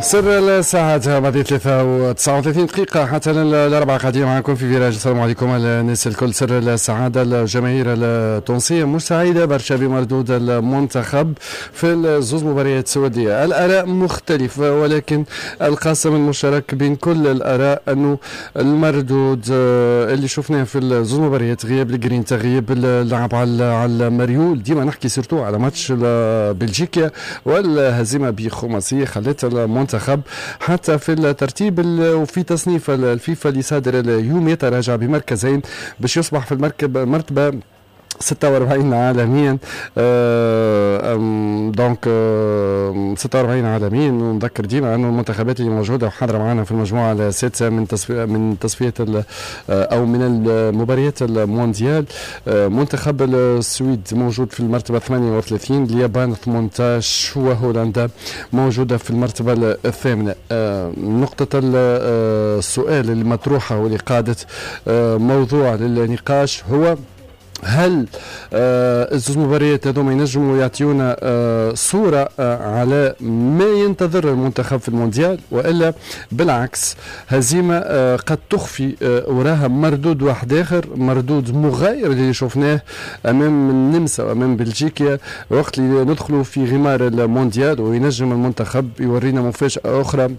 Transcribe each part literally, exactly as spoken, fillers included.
سر الساعات بعد ثلاثة وتسعة وثلاثين دقيقة حتى الأربعة قاعدين معكم في virage. السلام عليكم الناس الكل. سر السعادة، الجماهير التونسية مش سعيدة برشا بمردود المنتخب في الزوز مباريات السعودية. الآراء مختلفة، ولكن القاسم المشترك بين كل الآراء أنه المردود اللي شفناه في الزوز مباريات، غياب الجرينتا، غياب اللعب على على المريول، ديما نحكي surtout على ماتش بلجيكا والهزيمة بخماسية خلت المنتخب حتى في الترتيب وفي تصنيف الفيفا اللي صادر اليوم يتراجع بمركزين باش يصبح في المركب مرتبة ستة وأربعين عالميا. آه donc آه ستة وأربعين عالميا. ونذكر ديما انه المنتخبات اللي موجودة وحاضره معنا في المجموعة السادسة من تصفية من تصفية او من المباريات المونديال، آه منتخب السويد موجود في المرتبة ثمانية وثلاثين، اليابان ثمانية عشر، وهولندا موجودة في المرتبة الثامنة. آه نقطة السؤال المطروحة واللي قادت آه موضوع للنقاش هو هل آه الزوز مباريات هذوما ينجموا يعطيونا آه صورة آه على ما ينتظر المنتخب في المونديال، وإلا بالعكس هزيمة آه قد تخفي آه وراها مردود واحد آخر، مردود مغاير اللي شفناه أمام النمسا وأمام بلجيكا وقت اللي ندخلوا في غمار المونديال، وينجم المنتخب يورينا مفاجأة أخرى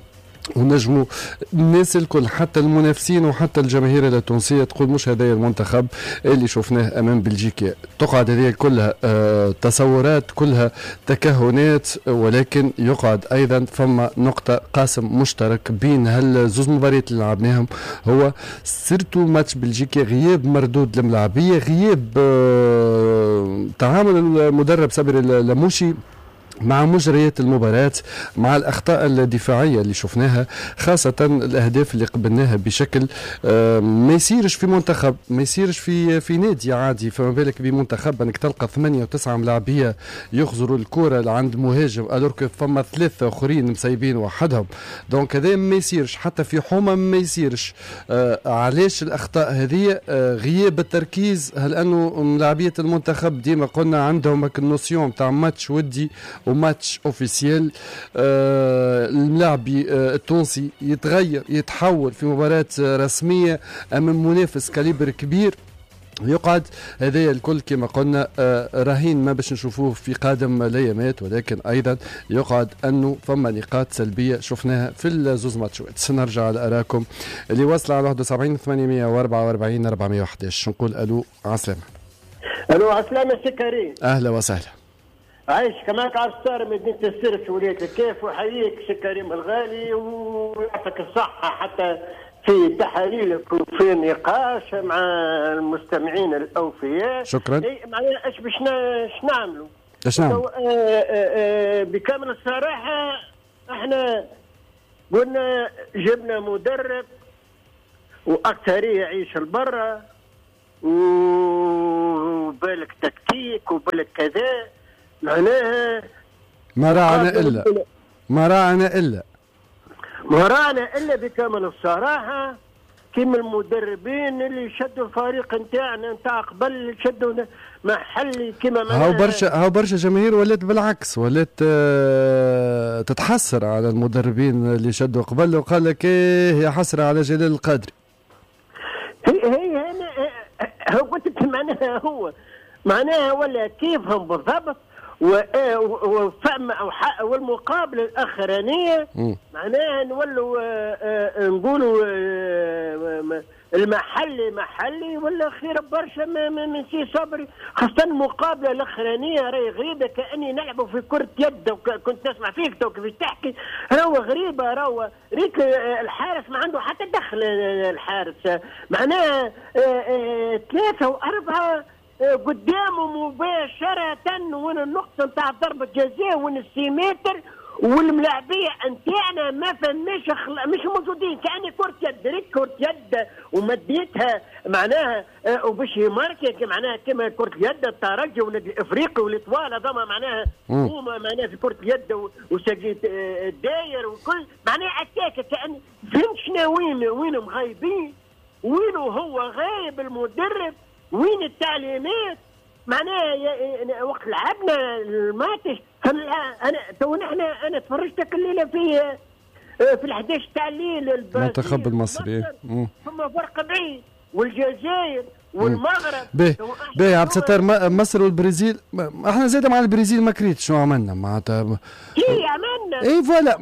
ونجموا الناس الكل حتى المنافسين وحتى الجماهير التونسية تقول مش هذا المنتخب اللي شفناه امام بلجيكا. تقعد هذه كلها آه تصورات، كلها تكهنات، ولكن يقعد ايضا فما نقطة قاسم مشترك بين هالزوز مباريات اللي لعبناهم، هو surtout ماتش بلجيكا غياب مردود الملاعبيه، غياب آه تعامل المدرب صبري اللموشي مع مجريات المباراة، مع الأخطاء الدفاعية اللي شفناها، خاصة الأهداف اللي قبلناها بشكل ما يصيرش في منتخب، ما يصيرش في في نادي عادي، فما بالك بمنتخب أنك تلقى ثمانية وتسعة ملاعبية يخزروا الكرة لعند مهاجم alors que فما ثلاثة آخرين مسيبين وحدهم. donc هذا ما يصيرش حتى في حومة، ما يصيرش. آه علاش الأخطاء هذه؟ آه غياب التركيز. هل أنه ملاعبية المنتخب ديما قلنا عندهم ال notion تاع ماتش ودي و match officiel، آه الملاعبي آه التونسي يتغير يتحول في مباراة رسمية أمام منافس calibre كبير. يقعد هذا الكل كما قلنا آه رهين ما باش نشوفوه في قادم الايامات، ولكن ايضا يقعد انه فما نقاط سلبية شفناها في الزوز ماتشات. سنرجع لاراكم اللي واصله على واحد وسبعين ثمانمائة وأربعة وأربعين أربعمائة وأحد عشر. نقول الو عسلامة. الو عسلامة سي كريم. اهلا وسهلا. عايش كماك عبد الستار مدينة السيرس ولاية الكاف، وحييك سي كريم الغالي ويعطيك الصحة حتى في تحاليلك وفي النقاش مع المستمعين الأوفياء. شكرا. إيه معناها اش باش نعملوا؟ اش نعملوا؟ بكامل الصراحة احنا قلنا جبنا مدرب وأكثرية يعيش البرة وبالك تكتيك وبالك كذا، معناها ما راعنا إلا ما راعنا إلا ما راعنا إلا بكامل الصراحة كيما المدربين اللي شدوا الفريق نتاعنا نتاع قبل، شدوا محلي كيما هاو برشا هاو برشا جماهير ولات بالعكس، ولات آه تتحسر على المدربين اللي شدوا قبل وقال لك ايه يا حسرة على جلال القادري. هي هي انا هو قلت معناها هو معناها ولا كيفهم بالضبط، وفهم والمقابلة الاخرانية معناها نولوا نقولوا المحلي محلي ولا خير برشا من سي صبري، خاصة المقابلة الاخرانية راهي غريبة كاني نلعبوا في كره يد. كنت نسمع فيك تو كيفاش تحكي، راهو غريبة، راهو ريت الحارس ما عنده حتى دخل، الحارس معناها ثلاثة واربعة قدامه مباشرة وين النقطة نتاع ضربة جزاء وين السيمتر، والملاعبية نتاعنا ما فماش خل... مش موجودين، كأني كرة يد، ريت كرة يد ومديتها معناها وباش يماركي معناها كما كرة اليد الترجي والنادي الافريقي والاتوال هذوما معناها هما معناها في كرة اليد وسجيت الداير وكل معناها اتاك كأن فهمت شنو وين وين مغايبين، وين هو غايب المدرب، وين التعليمات معناها. وقت لعبنا الماتش انا تو نحن انا تفرجتك الليلة في في الحداش تاع الليل المنتخب المصري، ثم فرق بعيد، والجزائر والمغرب. باهي باهي عبد الستار، مصر والبرازيل، احنا زاد مع البرازيل ما كريت شنو عملنا معناتها؟ اي عملنا، اي voilà،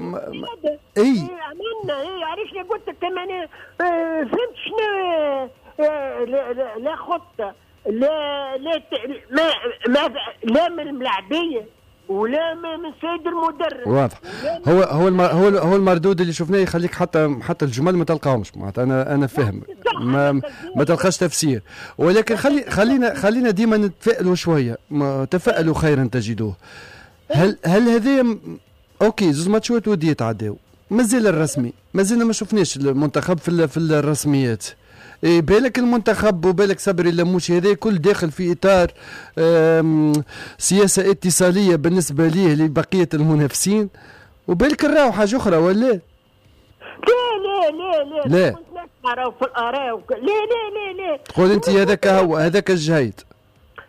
اي عملنا، اي علاش قلت لك انا فهمت شنو؟ لا, لا, لا خطه، لا لا ما ما لا من الملاعبيه ولا من سيد المدرب. واضح. هو هو هو هو المردود اللي شفناه يخليك حتى حتى الجمل ما تلقاهمش معناتها. انا انا فاهم ما ما تلقاش تفسير، ولكن خلي خلينا خلينا ديما نتفائلوا شوية، تفائلوا خيرا تجدوه. هل هل هذه OK زوج ماتشات وديه تعداو، مازال الرسمي، مازلنا ما شفناش المنتخب في في الرسميات. إيه بالك المنتخب وبالك صبري اللموشي هذا كل داخل في اطار سياسة اتصاليه بالنسبة ليه لبقية المنافسين، وبالك نراو حاجة اخرى ولا؟ لا لا لا لا لا كنت نسمع في الاراء وك... لا لا لا لا تقول انت هذاك هو هذاك الجهيد.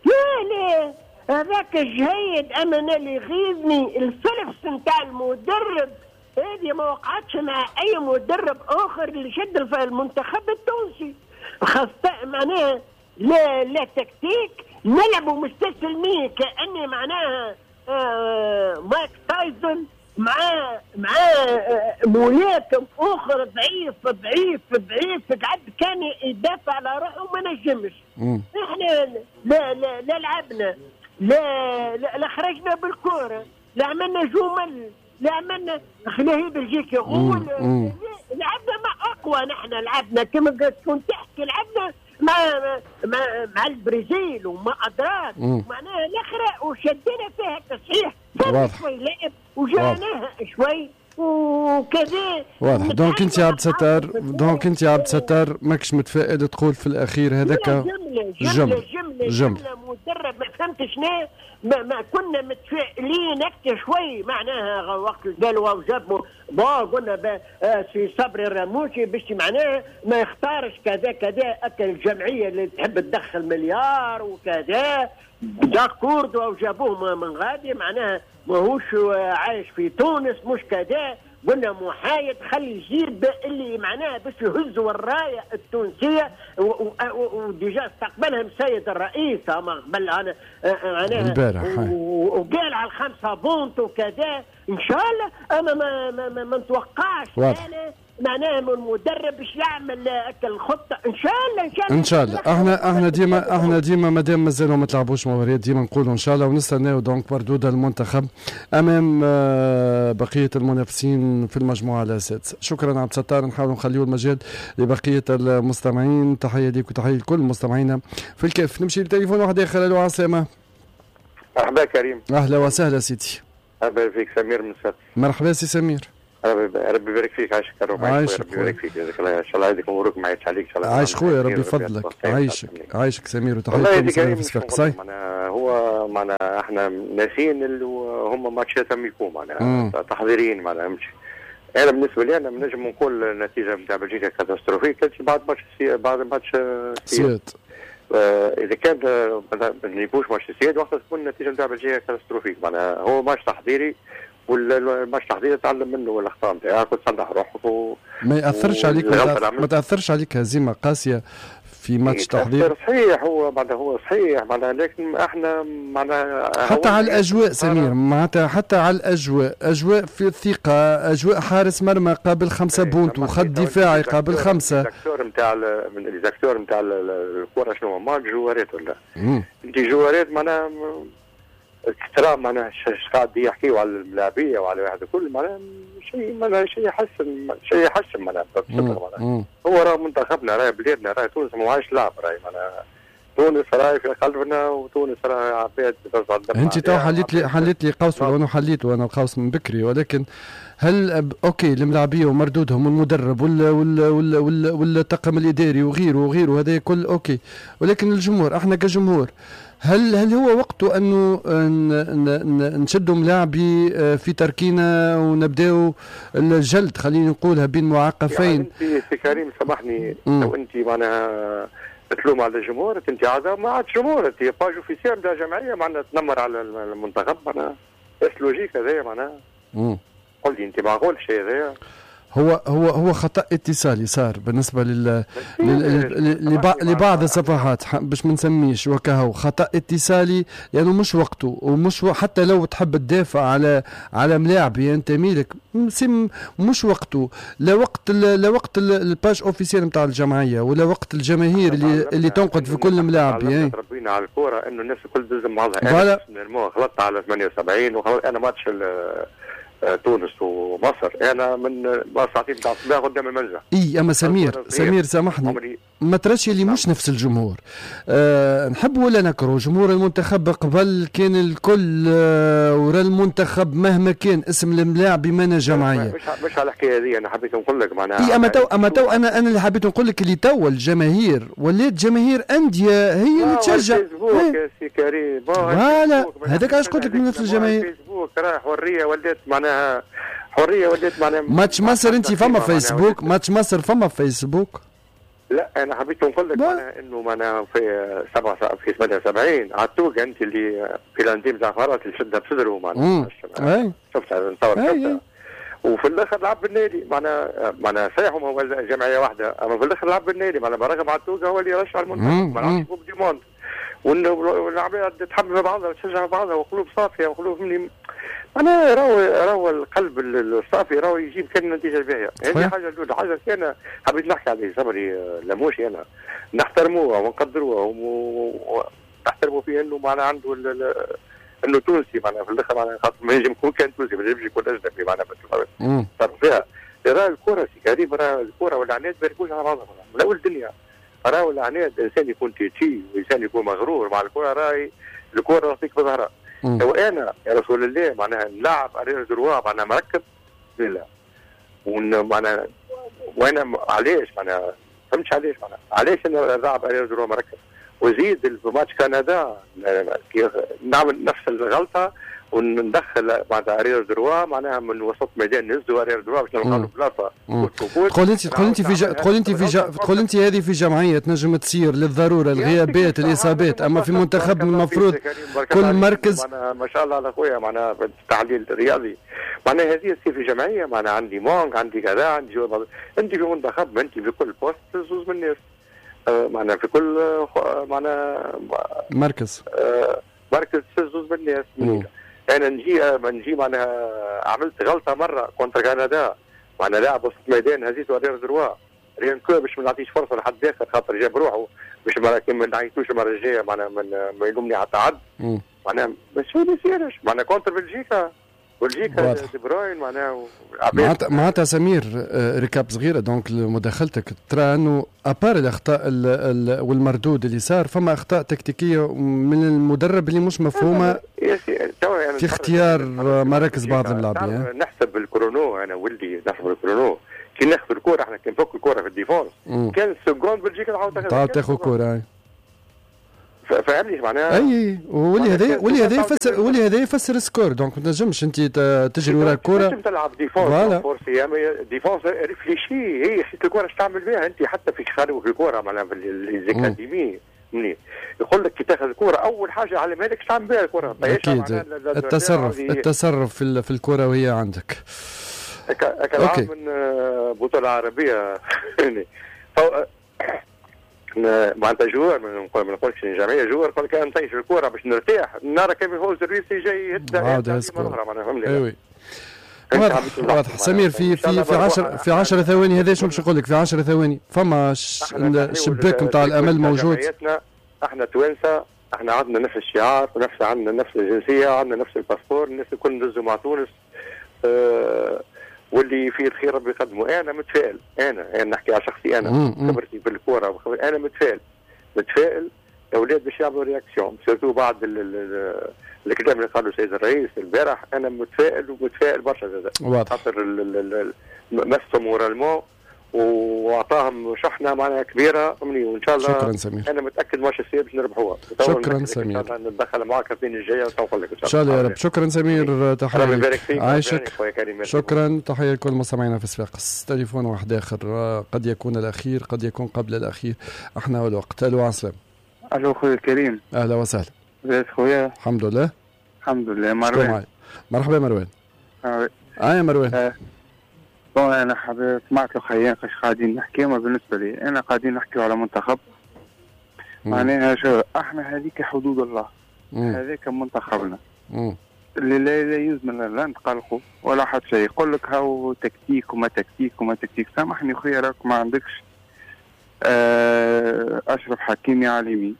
لا لا هذاك الجهيد. اما انا اللي يغيظني الفلفس نتاع المدرب، هذه ما وقعتش مع اي مدرب اخر اللي شد المنتخب التونسي، خاصة معناها لا لا تكتيك، نلعبوا مستسلمين كأني معناها آه مايك تايسون مع مع آه ملاكم اخر ضعيف ضعيف ضعيف، قعد كان يدافع على روحه وما نجمش. احنا لا لا لا لعبنا، لا لا, لا خرجنا بالكرة، لا عملنا جمل، لا عملنا خلاه بلجيكا غول، لعبنا مع اقوى. نحن لعبنا كما كنت تحكي، لعبنا مع مع مع البرازيل وما ادراك معناها الاخرى، وشدينا فيها تصحيح شوي لعب وجريناها شوي وكذا. واضح. donc انت عبد الستار، donc انت عبد الستار ماكش متفائل، تقول في الاخير هذاك جملة جملة جملة جملة مدرب ما فهمتش شنو. ما, ما كنا متفائلين اكثر شوي معناها وقت قالوا وجابوا bon قلنا سي صبري الرموشي باش معناها ما يختارش كذا كذا، اكل الجمعية اللي تحب تدخل مليار وكذا d'accord وجابوه من غادي معناها ماهوش عايش في تونس مش كذا. قلنا محايد خلي يجيب اللي معناها باش يهزوا الراية التونسية، و déjà استقبلهم السيد الرئيس اما قبل انا معناها البارح وقال على الخمسة points وكذا ان شاء الله. انا ما ما, ما, ما نتوقعش انا معناها من المدرب باش يعمل الخطة ان شاء الله. ان شاء الله ان شاء الله. احنا احنا ديما احنا ديما مادام مازالوا ما تلعبوش مباريات ديما نقولوا ان شاء الله، ونستناو donc مردود المنتخب امام بقية المنافسين في المجموعة السادسة. شكرا عبد الستار، نحاول نخليو المجال لبقية المستمعين. تحية ليك وتحية لكل مستمعينا في الكاف. نمشي لتليفون واحد اخر. الو عسلامة. مرحبا كريم. اهلا وسهلا سيدي. مرحبا فيك سمير من سات. مرحبا سي سمير. ربي ربي يبارك فيك. عايشك يا رب. عايشك ربي يبارك فيك. جزاك الله ان شاء الله عيدك مبروك ما عيدش عليك ان شاء الله. عايش خويا ربي يفضلك. عايشك عايشك سمير وتحية لكل في معناها هو معناها احنا ناسيين اللي هم ماتشات amicaux معناها تحضيريين معناها مش. انا بالنسبة لي انا نجم نقول النتيجة نتاع بلجيكا catastrophique كانت بعد ماتش سي... بعد ماتش سياد. آه اذا كان ما نجيبوش ماتش سياد وقتها تكون النتيجة نتاع بلجيكا catastrophique معناها هو ماتش تحضيري والماتش التحضيري تعلم منه الاخطاء نتاعك وتصلح روحك و... ما ياثرش عليك ما تاثرش عليك هزيمة قاسية في ماتش تحضير. صحيح هو معناها هو صحيح معناها لكن احنا معناها حتى على الاجواء سمير معناتها حتى على الاجواء، اجواء في الثقة، اجواء حارس مرمى قابل خمسة buts وخط دفاعي قابل خمسة. les acteurs نتاع les acteurs نتاع الكره شنو هما الجوارات ولا انت جوارات معناها ترى معناها قاعد يحكيوا على الملاعبيه وعلى واحد الكل معناها شيء معناها شيء يحسن شيء يحسن معناها معناها هو راه منتخبنا راه بلادنا راه تونس ما عادش لعب راهي معناها تونس راهي في قلبنا وتونس راهي عباد ترجع الدم. انت تو حليت لي حليت لي قوس وانا حليته انا القوس من بكري، ولكن هل OK الملاعبيه ومردودهم والمدرب وال وال وال وال والطاقم الاداري وغيره وغيره هذا كل OK، ولكن الجمهور احنا كجمهور هل هل هو وقته انه نشدوا ملاعبي في تركينا ونبداو الجلد خلينا نقولها بين معقفين؟ يعني انت سي كريم سامحني لو انت معناها تلوم على الجمهور انت عاد ما عادش جمهور، انت page officielle نتاع جمعية معناها تنمر على المنتخب معناها est-ce logique هذايا معناها؟ قول لي انت معقول الشيء هذايا؟ هو هو هو خطا اتصالي صار بالنسبة لل لبعض الصفحات باش ما نسميش وكهو خطا اتصالي، لانه يعني مش وقته ومش و... حتى لو تحب تدافع على على ملاعب ينتمي لك مش وقته، لا وقت لا وقت ال page officielle نتاع الجمعية ولا وقت الجماهير اللي اللي تنقد في كل ملاعب. يعني تربينا على الكورة انه الناس الكل تلزم بعضها. انا غلطت على ثمانية وسبعين وخلط انا ماتش تونس ومصر انا من ساعتين تاع الصباح قدام المنزل. اي اما سمير سمير سامحني ما تراش اللي مش نفس الجمهور. أه نحب ولا نكره جمهور المنتخب قبل كان الكل أه ورا المنتخب مهما كان اسم الملاعب بمعنى جمعية. مش مش على الحكاية هذه انا حبيت نقول لك معناها. اي اما تو اما تو انا انا اللي حبيت نقول لك اللي تو الجماهير ولات جماهير اندية هي اللي تشجع. فيسبوك يا سي كريم voilà هذاك علاش قلت لك من نفس الجماهير. فيسبوك راه حرية ولات معناها حرية ولات معناها ماتش مصر انت فما فيسبوك ماتش مصر فما فيسبوك. لا انا حبيت نقول لك معناها انه معناها في سبعة في ثمانية وسبعين عتوق انت اللي في لانديم تاع فرات اللي شدها بصدره معناها شفتها نتصور شفتها وفي الاخر لعب بالنادي معناها معناها صحيح هو جمعية واحدة اما في الاخر لعب بالنادي معناها برغم عتوق هو اللي رشح المنتخب ما لعبش Coupe du monde والعباد تحب بعضها وتشجع بعضها وقلوب صافية وقلوب مني معناها راهو راهو القلب الصافي راهو يجيب كان النتيجة الباهيه. هذه حاجة الاولى. حاجة الثانية حبيت نحكي عليه صبري لموشي انا نحترموه ونقدروه ونحترموا فيه انه معناها عنده انه تونسي معناها في الاخر معناها خاطر ما ينجم يكون كان تونسي ما ينجمش يكون اجنبي معناها فيها. راه الكره سي كريم راه الكره والعناد ما يركبوش على بعضهم من اول الدنيا. راهو العناد انسان يكون têtu وانسان يكون مغرور مع الكره راهي الكره تعطيك بظهرها. لو انا يا رسول الله معناها نلعب arrière droit معناها مركب لا معناها وانا علاش معناها فهمتش علاش معناها علاش انا نلعب arrière droit مركب وزيد في ماتش كندا نعمل نفس الغلطة وندخل معناتها arrière droit معناها من وسط ميدان نهزوا arrière droit باش نلقاو بلاصة. تقول انت تقول انت في تقول انت في تقول انت هذه في جمعية تنجم تصير للضرورة الغيابات الاصابات، اما في منتخب المفروض كل مركز ما شاء الله على خويا معناها في التحليل الرياضي معناها هذه تصير في جمعية معناها عندي manque عندي كذا عندي انت في منتخب انت في كل poste زوز من الناس معناها في كل معناها مركز مركز زوز من الناس. انا نجي نجي معناها عملت غلطه مرة contre كندا معناها لاعب وسط ميدان هزيته arrière droit rien que باش ما نعطيش فرصة لحد اخر خاطر جاب روحه باش ما نعيطوش المرة الجاية معناها ما يلومني على التعد معناها بس ما يصيرش معناها contre بلجيكا بلجيكا دي بروين معناها معناتها معناتها سمير récap صغيرة donc لمداخلتك ترى انه à part الاخطاء والمردود اللي صار فما اخطاء تكتيكية من المدرب اللي مش مفهومه في اختيار مراكز بعض اللاعبين. نحسب ال chrono انا ولدي نحسب ال chrono كي ناخذ الكره احنا كي نفك الكره في ال défense كان secondes بلجيكا تعاود تعاود تاخذ كره فهمني معناها. اي واللي هذا واللي هذا يفسر واللي هذا يفسر score donc ما تنجمش انت تجري وراء الكره تنجم تلعب défense forcée défense réfléchie هي خيت الكره اش تعمل بها انت حتى في خارج في الكره معناها في les académies يقول لك كي تاخذ الكره اول حاجة علمها لك اش تعمل بها الكره. اكيد التصرف التصرف في في الكره وهي عندك. okay من بطوله عربية معناتها joueur ما نقولش جمعية joueur قال كان نطيش الكره باش نرتاح نرى كيف يفوز الروسي جاي يهد عاود اخرى معناها فهمني. واضح واضح سمير في في في عشر في عشر ثواني هذا شنو باش نقول لك في عشر ثواني فما الشباك نتاع الامل موجود. احنا توانسة احنا عندنا نفس الشعار ونفس عندنا نفس الجنسية عندنا نفس ال passeport الناس الكل ندزوا مع تونس أه واللي فيه الخير ربي يقدمه. انا متفائل انا انا نحكي على شخصي انا خبرتي في الكورة انا متفائل متفائل الاولاد باش يعملوا réaction surtout بعد الكلام اللي قاله السيد الرئيس البارح. انا متفائل ومتفائل برشا زاد خاطر مسهم moralement واعطاهم شحنه معناها كبيرة فهمني وان شاء الله. شكرا سمير انا متاكد ماتش السير باش نربحوها. شكرا سمير ان شاء الله نتدخل معك الاثنين الجاية ونقول لك ان شاء الله يا رب. شكرا سمير تحية عايشك. شكرا تحية لكل مستمعينا في صفاقس. تليفون واحد اخر قد يكون الاخير قد يكون قبل الاخير احنا والوقت. الو عسلام. الو خويا كريم. اهلا وسهلا. لاباس خويا؟ الحمد لله. الحمد لله. مروان. مرحبا مروان. اه يا مروان. آه. bon انا حابب سمعت الخيان فاش قاعدين نحكي، ما بالنسبة لي انا قاعدين نحكيو على منتخب معناها شو احنا هذيك حدود الله، هذاك منتخبنا اللي لا لا يلزم لا نتقلقوا ولا حتى شيء. يقول لك هاو تكتيك وما تكتيك وما تكتيك، سامحني خويا راك ما عندكش آه اشرف حكيمي على اليمين،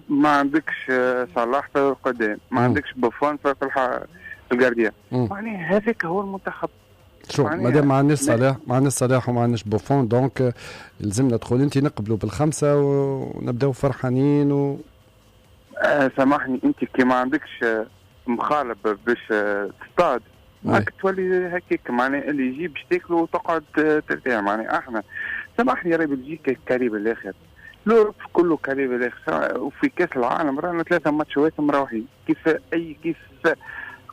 ما عندكش صلاح في القدام، ما عندكش بوفون في ال gardien، معناها هذاك هو المنتخب. شوف مادام ما عندناش صلاح، ما عندناش صلاح وما عندناش بوفون، donc لازمنا تدخل انت نقبلوا بالخمسة ونبداو فرحانين و آه سامحني انت كي ما عندكش مخالب باش تصطاد ماك تولي هكاك، معناها اللي يجي باش تاكله وتقعد ترتاح. معناها احنا سامحني راهي بلجيكا carré بالاخر، l'Europe كله carré بالاخر، وفي كاس العالم رانا ثلاثة ماتشات مروحين كيف اي كيف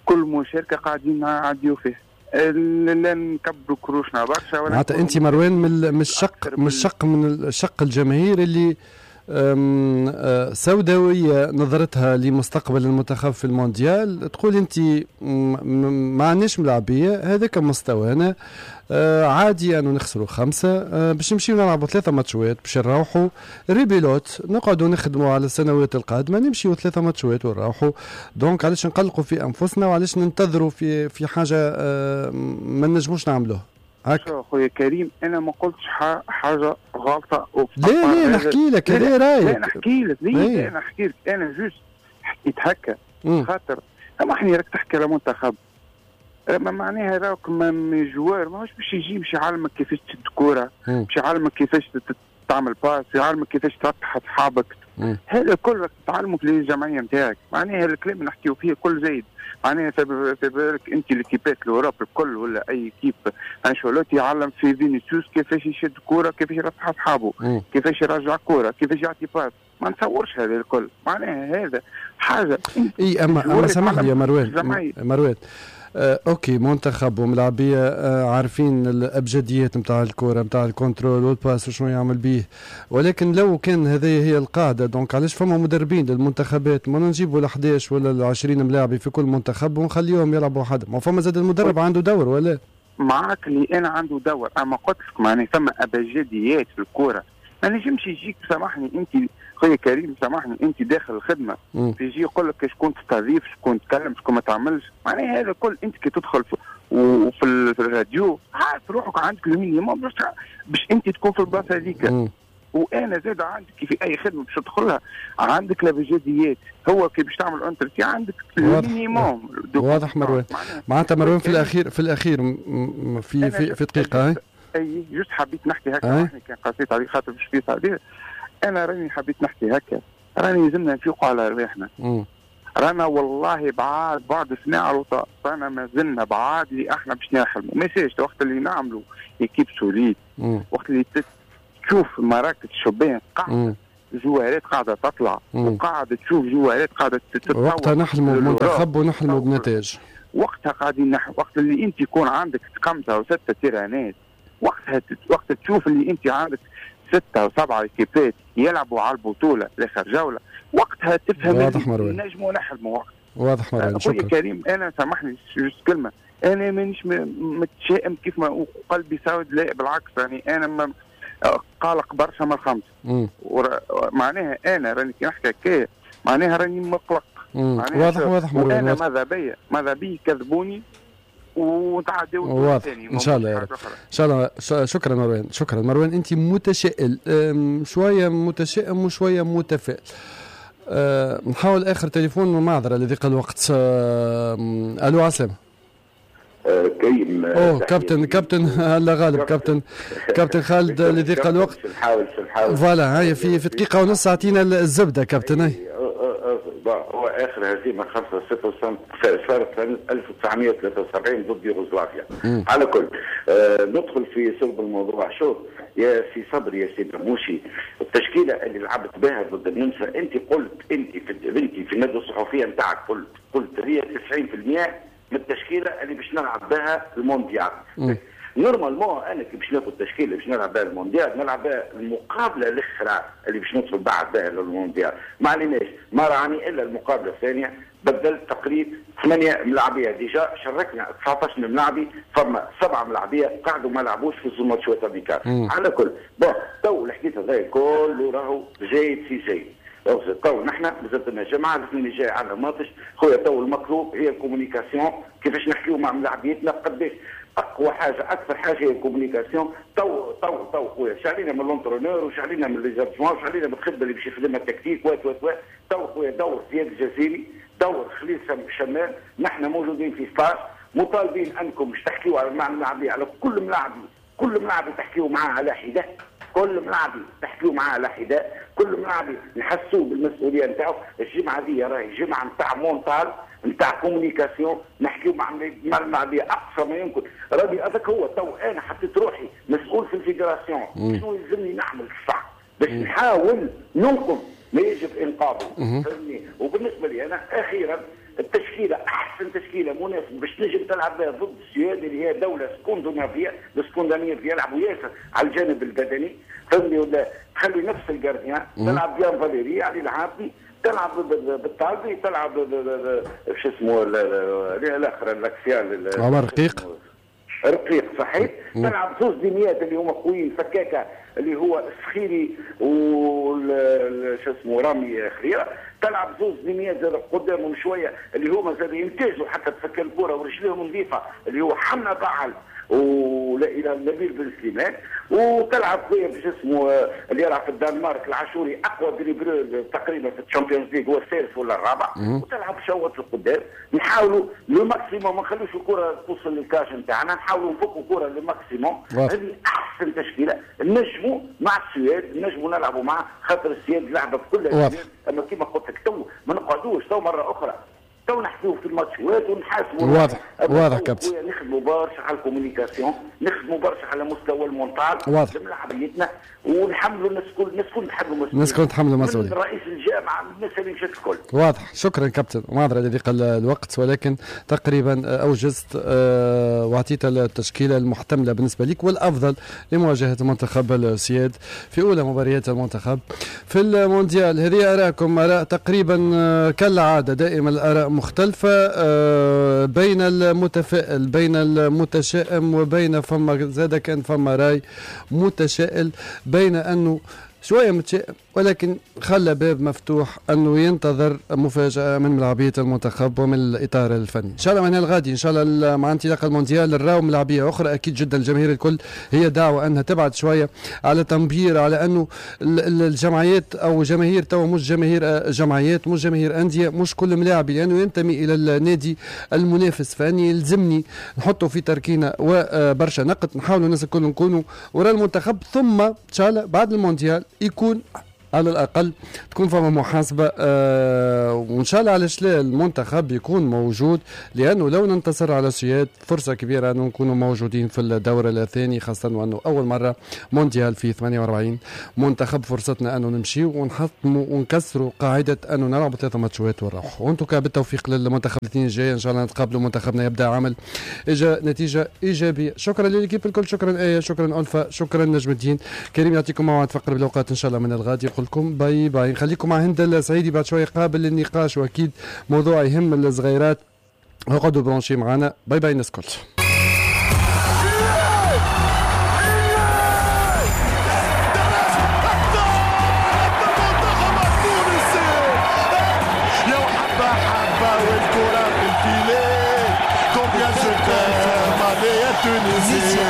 كل مشاركة قاعدين نعديو فيه، لا نكبروا كروشنا برشا. معناتها انت مروان من الشق من الشق من الشق الجماهير اللي سوداوية نظرتها لمستقبل المنتخب في المونديال، تقول انت ما عندناش ملاعبيه، هذاك مستوانا، عادي انه نخسروا خمسة باش نمشيو نلعبوا ثلاثة ماتشوات باش نروحوا rebelote، نقعدوا نخدموا على السنوات القادمة، نمشيو ثلاثة ماتشوات ونروحوا. donc علاش نقلقوا في انفسنا وعلاش ننتظروا في في حاجة ما نجموش نعملوها؟ هكا خويا كريم انا ما قلتش حاجة غلطه. لا لا نحكي لك هذا رايك. لا نحكي لك ليه انا نحكي لك انا juste حكيت هكا خاطر سامحني راك تحكي على منتخب، ما معناها راك من joueur ماهوش باش يجي باش يعلمك كيفاش تشد كورة، باش يعلمك كيفاش تعمل passe، يعلمك كيفاش تربح اصحابك، هذا كله تعلمك للجمعية نتاعك. معناها الكلام اللي نحكيو فيه كل زايد، معناها في بالك انت l'équipe ات l'Europe الكل ولا اي équipe انشيلوتي يعلم في فينيسيوس كيفاش يشد كورة، كيفاش يربح اصحابه، كيفاش يرجع كورة، كيفاش يعطي passe، ما نتصورش هذا الكل. معناها هذا حاجة اي اما اما سامحني يا مروان، مروان آه، OK منتخب وملاعبيه آه، عارفين الابجديات نتاع الكره نتاع ال contrôle وال passe وشنو يعمل بيه، ولكن لو كان هذه هي القاعدة donc علاش فما مدربين للمنتخبات؟ ما نجيبوا ال احداش ولا ال عشرين ملاعبي في كل منتخب ونخليهم يلعبوا وحدهم، ما فما زاد المدرب عنده دور ولا؟ معاك اللي انا عنده دور، اما قلت لك معناها فما ابجديات في الكره، ما نجمش يجيك سامحني انت خويا كريم، سامحني انت داخل الخدمة يجي يقول لك شكون تستضيف، شكون تكلم، شكون ما تعملش، معناها هذا كل انت كي تدخل في وفي في الراديو عارف روحك عندك ال minimum باش باش انت تكون في البلاصة هذيك. وانا زاد عندك في اي خدمة باش تدخلها عندك الابجديات، هو كي باش تعمل entretien عندك ال minimum. واضح مروان، معناتها مروان في الاخير في الاخير في في في دقيقة اي juste حبيت نحكي هكا، كان قصيت عليه خاطر باش في تعبير، انا راني حبيت نحكي هكا، راني لازمنا نفيقوا على رواحنا. رانا والله بعاد بعد سنة الوطا، رانا مازلنا بعاد اللي احنا باش نحلموا، ما يصيرش وقت اللي نعملوا équipe solide، وقت اللي تشوف مراكز الشبان قاعدة جوارات قاعدة تطلع وقاعدة تشوف جوارات قاعدة تتطور، وقتها نحلموا بمنتخب ونحلموا بنتائج. وقتها قاعدين نح... وقت اللي انت يكون عندك خمسة وستة تيرانات، وقتها وقت تشوف اللي انت عندك ستة وسبعة équipe ات يلعبوا على البطولة لاخر جولة، وقتها تفهم واضح مروان نجموا نحلموا وقت. واضح مروان، شكرا كريم. انا سامحني juste كلمة، انا مانيش متشائم كيف ما قلبي سود، لا بالعكس، يعني انا ما قلق برشا من الخمسة، معناها انا راني كي نحكي هكايا معناها راني مقلق. واضح واضح مروان. انا ماذا بيا ماذا بيا كذبوني وتعديو. واضح ان شاء الله يا رب، ان شاء الله. شكرا مروان، شكرا مروان. انت متشائل شوية، متشائم وشوية متفائل. أه نحاول اخر تليفون، معذرة لضيق الوقت. أه الو عسلامة. أه كريم. اوه كابتن كابتن الله غالب كابتن كابتن خالد لضيق الوقت. نحاول نحاول voilà هاي في في دقيقة ونص اعطينا الزبدة كابتن. هاي هو اخر هزيمة خمسة صفر صارت سنة ألف وتسعمئة وثلاثة وسبعين ضد يوغوسلافيا. على كل آه ندخل في صلب الموضوع. شوف يا سي صبري يا سي مرموشي، التشكيلة اللي لعبت بها ضد النمسا، انت قلت انت في انت في الندوة الصحفية نتاعك قلت قلت هي تسعين بالمئة من التشكيلة اللي باش نلعب بها المونديال. normalement انا كي باش ناخذ تشكيله باش نلعب بها المونديال، نلعب بها المقابلة الاخرى اللي باش ندخل بعد بها للمونديال. ما عليناش، ما راني الا المقابلة الثانية بدلت تقريبا ثمانية ملاعبيه، déjà شاركنا تسعطاش ملاعبي، فما سبعة ملاعبيه قعدوا ما لعبوش في زوج ماتشات amicales. على كل bon تو الحديث هذا كله راهو زايد في زايد. تو نحن مازالت لنا جمعه، الاثنين الجاي عندنا ماتش خويا. تو المطلوب هي ال communication، كيفاش نحكيو مع ملاعبيتنا، قداش اقوى حاجة اكثر حاجة هي ال communication. تو تو تو خويا شعلينا من l'entraîneur وشعلينا من les adjoints وشعلينا من الخدمة اللي باش يخدمها التكتيك وات وات وات. تو خويا دور زياد الجزيري، دور خليل شمال، نحن موجودين في stage، مطالبين انكم باش تحكيوا على مع الملاعبيه، على كل ملاعبي، كل ملاعبي تحكيوا معاه على حده، كل ملاعبي تحكيوا معاه على حده، كل ملاعبي نحسوه بالمسؤولية نتاعو. الجمعة دي راهي جمعه نتاع mental، نتاع communication، نحكيو مع مع الملاعبيه اقصى ما يمكن. ربي هذاك هو تو انا حطيت روحي مسؤول في ال fédération، شنو يلزمني نعمل الصح باش نحاول ننقذ ما يجب انقاذه، فهمني؟ وبالنسبة لي انا اخيرا التشكيلة احسن تشكيله مناسبة باش تنجم تلعب بها ضد السويد اللي هي دولة اسكندنافيه، الاسكندنافية يلعبوا ياسر على الجانب البدني، فهمني؟ ولا تخلي نفس ال gardien تلعب بيان فاليري علي العابدي، تلعب بالطالبي، تلعب شو اسمه الاخر l'axial عمر رقيق، رقيق صحيح، تلعب زوج ديميات اللي هما قويين فكاكه اللي هو السخيري وال شو اسمه رامي خيره، تلعب زوج ديميات زاد قدامهم شوية اللي هما زاد يمتازوا حتى تفك الكره ورجليهم نظيفة اللي هو حمنا بعل ولا الى نبيل بن سليمان، وتلعب خويا باش اسمه اللي يلعب في الدنمارك العاشوري اقوى dribbleur تقريبا في ال Champions League، هو الثالث ولا الرابع، وتلعب شوط القدام. نحاولوا le maximum ما نخلوش الكره توصل لل cage نتاعنا، نحاولوا نفكوا الكره le maximum. هذه احسن تشكيله نجموا مع السويد، نجموا نلعبوا معاه خاطر السويد لعبه بكل، اما كيما قلت لك تو ما نقعدوش تو مرة اخرى تو نحكيو في الماتشات ونحاسبوا. واضح واضح كابتن، نخدموا برشا على ال communication، نخدموا برشا على مستوى ال mental لملاعبيتنا، ونحملوا الناس الكل، الناس الكل نتحملوا مسؤولية، الناس الكل نتحملوا مسؤولية، رئيس الجامعة الناس اللي مشات الكل. واضح، شكرا كابتن، معذرة لضيق الوقت ولكن تقريبا اوجزت واعطيت التشكيلة المحتملة بالنسبة لك والافضل لمواجهة منتخب السويد في اولى مباريات المنتخب في المونديال. هذه اراءكم، اراء تقريبا كالعادة دائما الاراء مختلفة بين المتفائل بين المتشائم وبين فما زاد كان فما راي متشائل بين أنه شوية متشائم ولكن خلى باب مفتوح أنه ينتظر مفاجأة من ملاعبية المنتخب ومن الإطار الفني. إن شاء الله من الغادي إن شاء الله مع انطلاق المونديال نراو ملاعبية أخرى. أكيد جدا الجماهير الكل هي دعوة أنها تبعد شوية على تنبير على أنه الجمعيات أو جماهير تو مش جماهير جمعيات مش جماهير أندية مش كل ملاعب لأنه ينتمي إلى النادي المنافس، فأني يلزمني نحطه في تركينة وبرشا نقد. نحاولوا الناس الكل نكونوا وراء المنتخب، ثم إن شاء الله بعد المونديال يكون على الأقل تكون فما محاسبة آه وإن شاء الله علاش لا المنتخب يكون موجود، لأنه لو ننتصر على السويد فرصة كبيرة أنه نكونوا موجودين في الدور الثاني، خاصة وأنه أول مرة مونديال في ثمانية وأربعين منتخب، فرصتنا أنه نمشي ونحطموا ونكسروا قاعدة أنه نلعب ثلاثة ماتشات ونروح. وأنتم بالتوفيق للمنتخب الاثنين الجاي إن شاء الله نتقابلوا، منتخبنا يبدأ عمل إجا نتيجة إيجابية. شكرا لل équipe الكل، شكرا آية، شكرا ألفا، شكرا نجم الدين كريم. يعطيكم موعد في أقرب الأوقات إن شاء الله من الغد. يقول لكم bye bye. نخليكم مع هند السعيدي بعد شوية قابل للنقاش واكيد موضوع يهم الصغيرات. اقعدوا branchés معنا. bye bye الناس الكل. Tunisia.